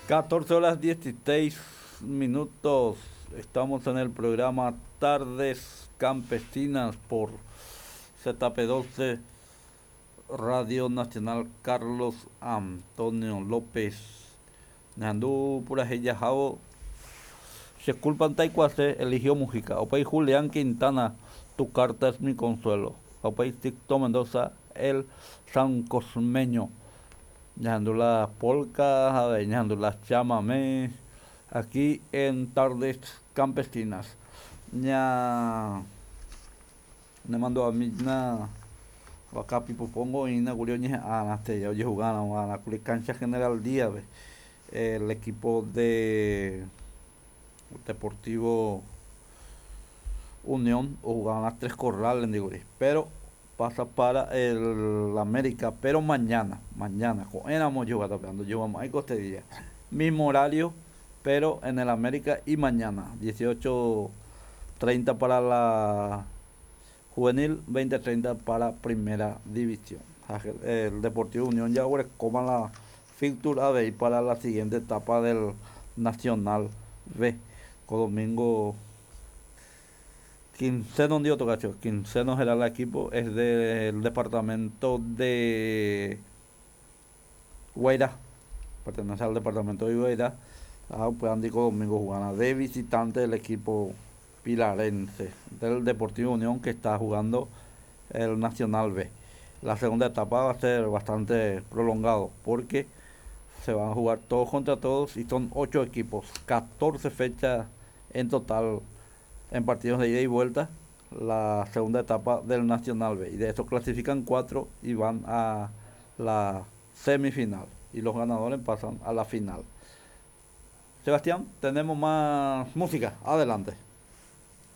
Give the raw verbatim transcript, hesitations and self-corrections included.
catorce horas dieciséis minutos. Estamos en el programa Tardes Campesinas por Z P doce, Radio Nacional Carlos Antonio López. Nandú Purajeya Jabo. Se culpan Taikuase, eligió Mujica. Opay Julián Quintana, tu carta es mi consuelo. Opay Sixto Mendoza, el San Cosmeño. Ñandú la polka, ñandú la chamamé, aquí en Tardes Campesinas. Ña, me mando a mí na, acá pipo pongo y na curio ñe a la estrella, oye jugando a la culi cancha General Díaz, ve. El equipo de Deportivo Unión o jugaban las Tres Corrales, digo, pero pasa para el América, pero mañana, mañana, con éramos yo jugando, yo vamos a Costería, mismo horario, pero en el América y mañana, dieciocho treinta para la juvenil, veinte treinta para primera división. El Deportivo Unión ya ahora coma la fixture B para la siguiente etapa del Nacional B, con domingo quinceno de otro cacho, quinceno será el equipo, es del departamento de Guairá, pertenece al departamento de Guairá. Ah, pues Andico domingo jugará de visitante el equipo pilarense del Deportivo Unión, que está jugando el Nacional B. La segunda etapa va a ser bastante prolongado porque se van a jugar todos contra todos y son ocho equipos, catorce fechas en total en partidos de ida y vuelta, la segunda etapa del Nacional B. Y de eso clasifican cuatro y van a la semifinal. Y los ganadores pasan a la final. Sebastián, tenemos más música. Adelante.